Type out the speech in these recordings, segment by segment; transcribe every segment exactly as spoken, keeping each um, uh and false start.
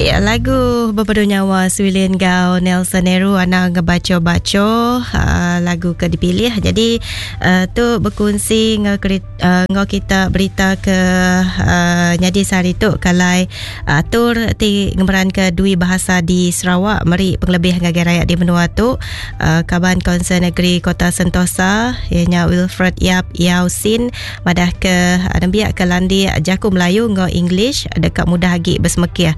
Ya, lagu Bebedu Nyawa Swilin Gau Nelson Nehru anang ngebaco-baco uh, lagu ke dipilih. Jadi uh, tu berkongsi ngau uh, ngau kita berita ke uh, nyadi sehari tu kalai uh, atur ti ngemeran ke dui bahasa di Sarawak meri pengelebih ngagai rakyat di menua tu. Uh, Kaban Kaunsil Negeri Kota Sentosa ianya Wilfred Yap Yau Sin madah ke nembiak ke landi jaku Melayu ngau English dekat mudah agi bersemekiah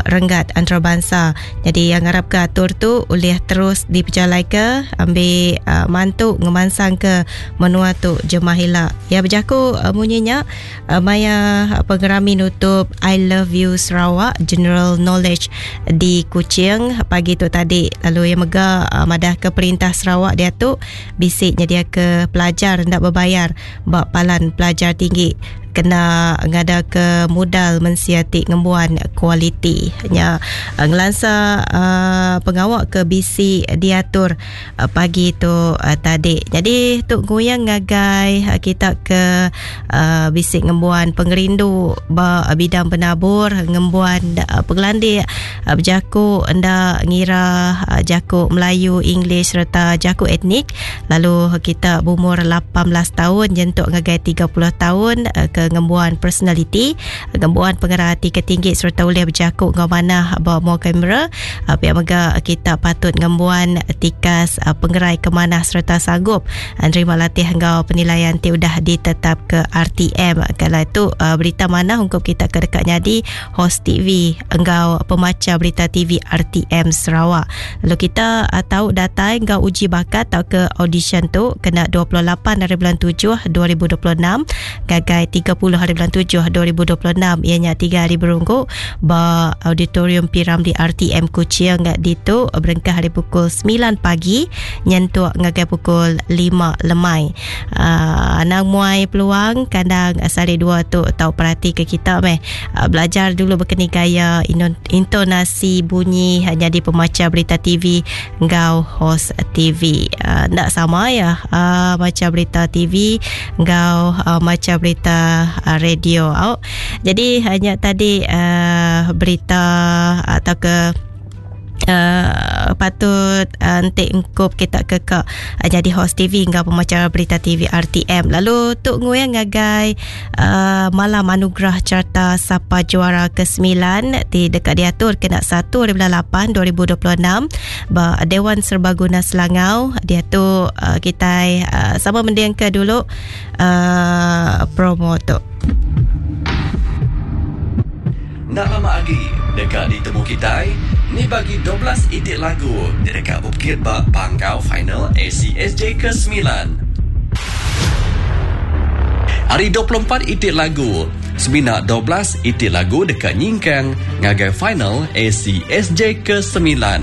berenggat antarabangsa. Jadi yang harap ke atur tu boleh terus diperjalai ke ambil uh, mantu ngemansang ke menua tu jemah hila. Ya berjaku uh, munyinya uh, maya pengerami nutup I Love You Sarawak General Knowledge di Kuching pagi tu tadi. Lalu yang mega uh, madah ke perintah Sarawak dia tu bisik nyedia ke pelajar ndak berbayar bak palan pelajar tinggi kena ngada ke modal mensiati ngembuan kualiti nya ngelansa uh, pengawak ke B C diatur uh, pagi tu uh, tadi. Jadi tu goyang ngagai uh, kita ke uh, B C ngembuan pengerindu ba uh, bidang penabur ngembuan uh, pengelandik uh, berjaku nda ngira uh, jaku Melayu, English serta jaku etnik. Lalu kita berumur lapan belas tahun nyentuk ngagai tiga puluh tahun uh, ke ngembuan personality, ngembuan pengarah hati ketinggi serta boleh berjakuk ngau manah bawa mua kamera. Pihak mega kita patut ngembuan tikas pengerai kemanah serta sanggup nerima latih ngau penilaian ti udah ditetap ke R T M. Kalau itu berita manah untuk kita ke dekat nyadi host T V engkau pemaca berita T V R T M Sarawak. Lalu kita tahu datai engkau uji bakat atau ke audition tu kena dua puluh lapan hari bulan tujuh dua ribu dua puluh enam gagai tiga puluh hari bulan tujuh dua ribu dua puluh enam ianya tiga hari berunggu ba auditorium P. Ramlee R T M Kuching ditu berengkah hari pukul sembilan pagi nyentuk ngagai pukul lima lemai. Uh, anang muai peluang kandang sari dua tu tau perhati ke kita meh. Uh, belajar dulu berkeni gaya intonasi bunyi jadi pemaca berita T V ngau host T V. Uh, nak sama ya uh, baca berita T V ngau uh, baca berita uh, radio. Oh. Jadi hanya tadi uh, berita atau ke Uh, patut uh, entik engkup kita ke ke uh, jadi host T V hingga pemacara berita T V R T M. Lalu tuk nguyang ngagai uh, malam anugerah carta Sapa Juara kesembilan di dekat diatur kena satu hari bulan lapan dua ribu dua puluh enam ba Dewan Serbaguna Selangau. Dia tu uh, kita uh, sama mending ke dulu uh, promo tu. Nak lama lagi dekat ditemu kita ni bagi dua belas itik lagu dekat Bukit Bak Panggau Final A C S J kesembilan. Hari dua puluh empat itik lagu, semina dua belas itik lagu dekat Nyingkang ngagai Final A C S J kesembilan.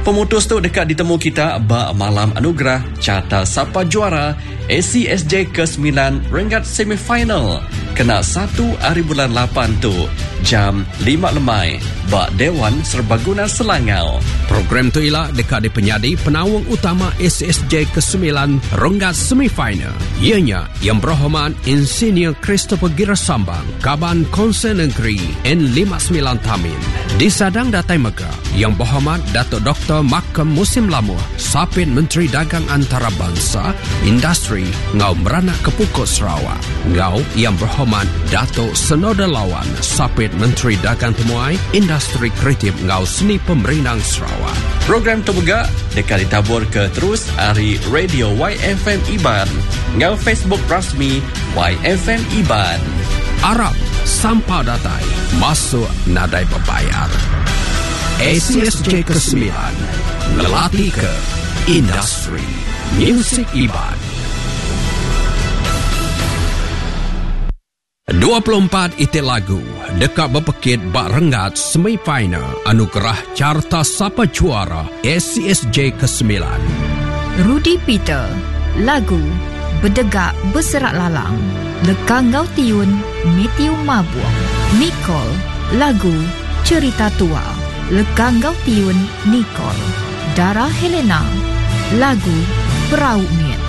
Pemutus tu dekat ditemu kita ba malam anugerah Carta Sapa Juara A C S J kesembilan renggat semifinal kena satu hari bulan lapan tu jam lima lemai ba Dewan Serbaguna Selangau. Program tu ialah dekat di penyadi penawang utama A C S J kesembilan renggat semifinal. Ianya yang berhormat Insinyur Christopher Girasambang, Kaban Konsel Negeri N lima sembilan Tamin. Di Sadang Datai Mega, yang berhormat Datuk Doktor Makam Musim Lamuh, Sapin Menteri Dagang Antarabangsa, Industri Ngau Meranak Kepukut Sarawak. Ngau yang berhormat Datuk Senoda Lawan, Sapit Menteri Dagang Temuai, Industri Kreatif Ngau Seni Pemerintah Sarawak. Program tu juga dekat ditabur ke terus hari Radio Y F M Iban ngau Facebook rasmi Y F M Iban. Arab sampai datai masuk nadai berbayar. A C S J kesembilan melatih ke industri music Iban. dua puluh empat itik lagu dekat berpekit bak renggat semifinal anugerah Carta Sapa Juara A C S J kesembilan. Rudy Peter, lagu Bedegak Berserak Lalang, Lekang Ngau Tiun, Matthew Mabuang. Nicole, lagu Cerita Tua, Lekang Ngau Tiun, Nicole. Dara Helena, lagu Perahu Miet,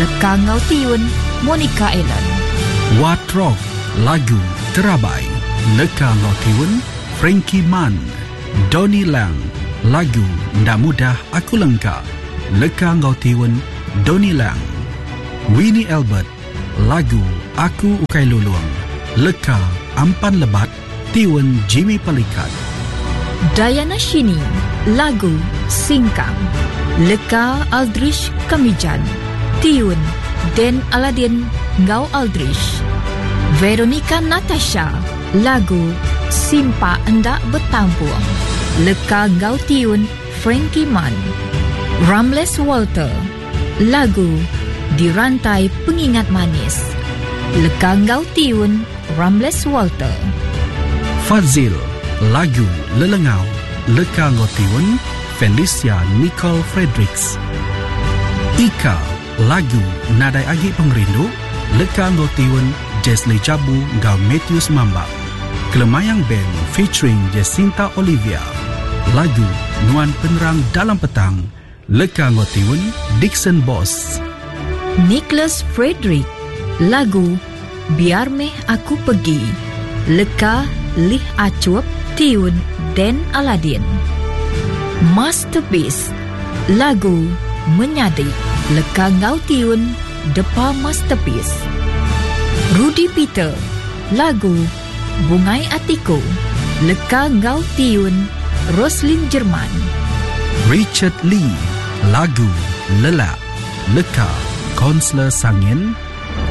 Lekang Ngau Tiun, Monica Ellen. Watrok, lagu Terabai, Leka Ngau Tiun, Frankie Mann. Donny Lang, lagu Nda Mudah Aku Lengka, leka enggau tiun Donny Lang. Winnie Albert, lagu Aku Ukai Lulung, leka Ampan Lebat, tiun Jimmy Pelikat. Diana Shini, lagu Singkang, leka Aldrich Kamijan, tiun Den Aladin ngau Aldrich. Veronica Natasha, lagu Simpa Endak Betampung, leka ngau tiun Frankie Man. Ramles Walter, lagu Dirantai Pengingat Manis, leka ngau tiun Ramles Walter. Fazil, lagu Lelengau, leka ngau tiun Felicia Nicole Fredericks. Ika, lagu Nadai Agi Pengerindu, leka ngau tiun Jesly Jabu ngau Matthews Mambang. Kelemayang Band featuring Jacinta Olivia, lagu Nuan Penerang Dalam Petang, leka ngau tiun Dixon Boss. Nicholas Frederick, lagu Biar Meh Aku Pergi, leka Lih Acup, tiun Den Aladin. Masterpiece, lagu Menyadik, leka ngau tiun Depa Masterpiece. Rudy Peter, lagu Bungai Atiku, leka ngau tiun Roslin Jerman. Richard Lee, lagu Lelak, leka Konselor Sangin,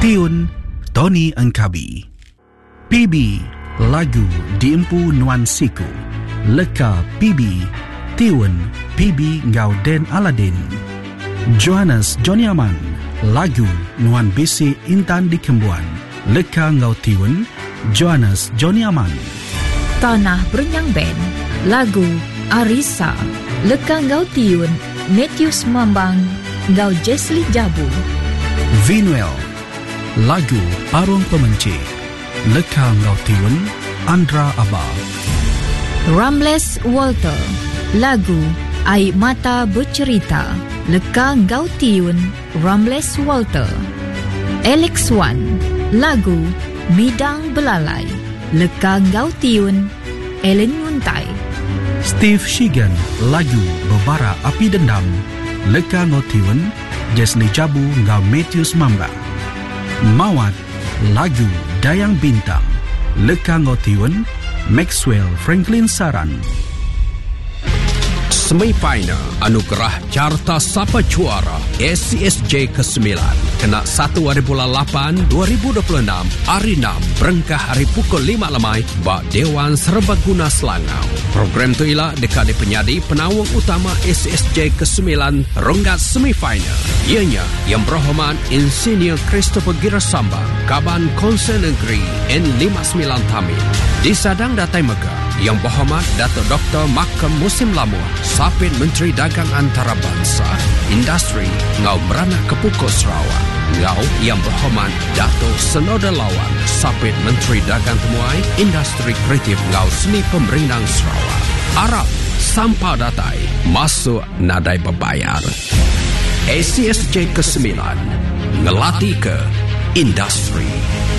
tiun Tony Engkabi. P B, lagu Diempu Nuan Siku, leka P B, tiun P B ngau Den Aladin. Johannes Johnny Aman, lagu Nuan Bisi Intan Dikembuan, leka ngau tiun Johannes Johnny Aman. Tanah Berenyang Band, lagu Arisa, leka ngau tiun Matthews Mambang ngau Jesly Jabu. Vinuel, lagu Parung Pemenci, leka ngau tiun Andra Aba. Ramles Walter, lagu Air Mata Bercerita, leka ngau tiun Ramles Walter. Alex Wan, lagu Midang Belalai, leka ngau tiun Ellen Nguntai. Steve Shigan, lagu Bebara Api Dendam, leka ngau tiun Jesly Jabu ngau Matthews Mambang. Mawat, lagu Dayang Bintang, leka ngau tiun Maxwell Franklin Saran. Semifinal Anugerah Carta Sapa Juara A C S J kesembilan kena satu hari bulan lapan dua ribu dua puluh enam hari enam berengkah hari pukul lima lemai bak Dewan Serbaguna Selangau. Program tu ialah dekat di penyadi penawang utama A C S J kesembilan renggat semifinal. Ianya yang berhormat Insinyur Christopher Girasambang, Kaban Konsel Negeri N lima sembilan Tamil. Disadang datai mega yang berhormat Datuk Doktor Makam Musim Lamuh, Sapit Menteri Dagang Antarabangsa, Industri Ngau Meranak Kepukul Sarawak. Ngau yang berhormat Datuk Senoda Lawan, Sapit Menteri Dagang Temuai, Industri Kreatif Ngau Seni Pemerintah Sarawak. Arab Sampah Datai, masuk nadai berbayar. A C S J kesembilan, ngelati ke industri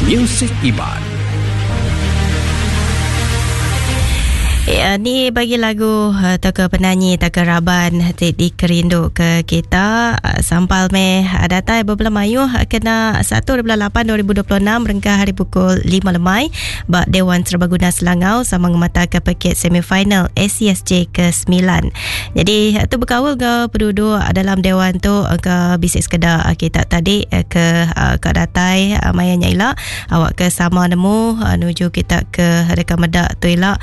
music Iban. Ya, ni bagi lagu atau ke penyanyi atau ke raban ti dikerindu ke kita sampal meh datai bebelah mayuh kena satu bulan lapan dua ribu dua puluh enam rengkah hari pukul lima lemai bak Dewan Serbaguna Selangau sama ngemata ke paket semifinal A C S J ke sembilan. Jadi tu berkawal ke penduduk dalam dewan tu ke bisik sekedar kita tadi ke ke datai maya nyaila awak ke sama nemu menuju kita ke dekat medak tu elak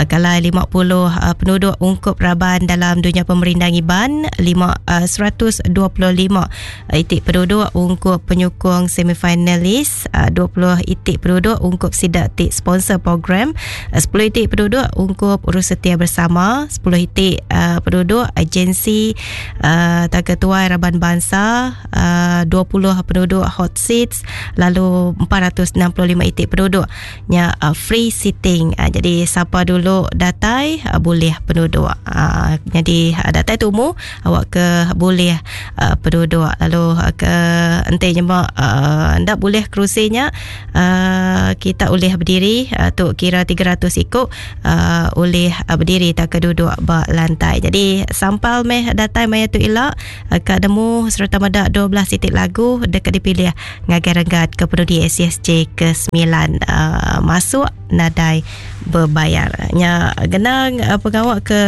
kalau lima puluh uh, penduduk ungkup raban dalam dunia pemerintah Iban, lima, uh, seratus dua puluh lima itik penduduk ungkup penyokong semifinalis, uh, dua puluh itik penduduk ungkup sidak tik sponsor program, uh, sepuluh itik penduduk ungkup urus setia bersama, sepuluh itik uh, penduduk agensi uh, ketua raban bangsa, uh, dua puluh penduduk hot seats, lalu empat ratus enam puluh lima itik penduduknya uh, free seating. Uh, jadi siapa dulu datai uh, boleh penduduk. Uh, jadi uh, datai tumu awak ke boleh uh, penduduk lalu uh, ke ente nyemak uh, ndak boleh kerusinya uh, kita boleh berdiri uh, tu kira tiga ratus ikut uh, boleh uh, berdiri tak ke duduk ba lantai. Jadi sampal meh datai maya tu ila uh, ka demu serta medak dua belas titik lagu dekat dipilih ngagai renggat ke penudi S S J ke sembilan uh, masuk nadai berbayar. Nya genang uh, pengawak ke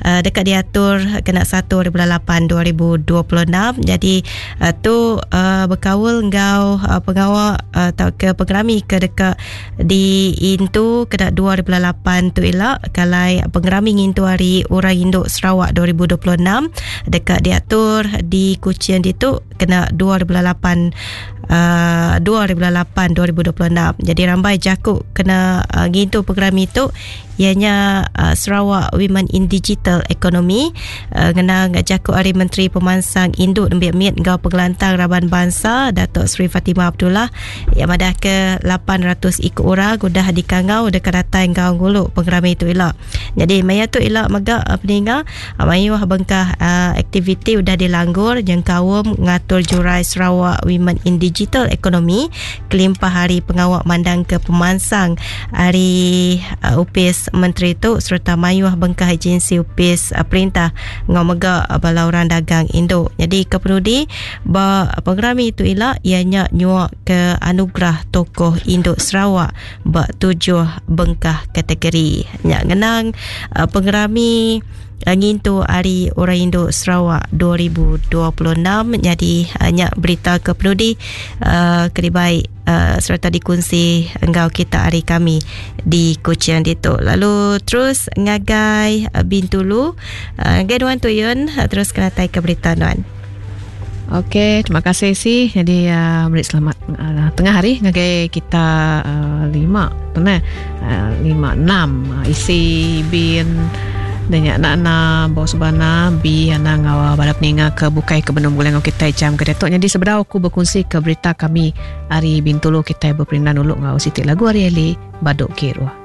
uh, dekat diatur kena satu bulan lapan dua ribu dua puluh enam. Jadi uh, tu uh, berkaul ngau uh, pengawak uh, atau ke pengerami ke dekat di Intu kena dua bulan lapan tu ila kalai pengerami ngintu hari Orang Induk Sarawak dua ribu dua puluh enam dekat diatur di Kuching ditu kena dua bulan lapan Uh, dua ribu lapan dua ribu dua puluh enam. Jadi rambai jakuk kena uh, ngintu program itu ianya uh, Sarawak Women in Digital Economy uh, kena jakuk hari Menteri Pemansang Induk Nembiak Mit ngau Pengelantang Raban Bangsa Datuk Seri Fatimah Abdullah yang madah ke lapan ratus ikut orang udah dikangau dekat datai ngau nguluk program itu ila. Jadi maya tu ila megak uh, peninga uh, mayuh bengkah uh, aktiviti udah dilanggur jengkaum ngatur jurai Sarawak Women in Digital Economy kelimpah hari pengawak mandang ke pemansang hari uh, upis menteri tu serta mayuh bengkah agensi upis uh, perintah ngau megak uh, bala orang dagang induk. Jadi kepenudi ba program itu ila ianya nyuak ke anugerah tokoh induk Sarawak ba tujuh bengkah kategori. Nyak ngenang uh, pengerami ngintu hari Orang Induk Sarawak dua ribu dua puluh enam. Jadi uh, nyak berita ke penudi uh, keribai uh, serta dikunci engkau kita hari kami di Kuching ditu. Lalu terus ngagai uh, Bintulu uh, ngagai Nuan Tuyun uh, terus kena tai ke berita Nuan. Okey, terima kasih si. Jadi uh, beri selamat uh, tengah hari ngagai kita uh, lima, benar? Uh, lima enam uh, isi bin dan nak na bos bana bi ana ngawa balap ninga ke bukai ke benung bulan kita jam ke datuk. Jadi seberau aku berkongsi ke berita kami hari Bintulu kita berperindan dulu ngau sitik lagu hari Eli Baduk Kirwa.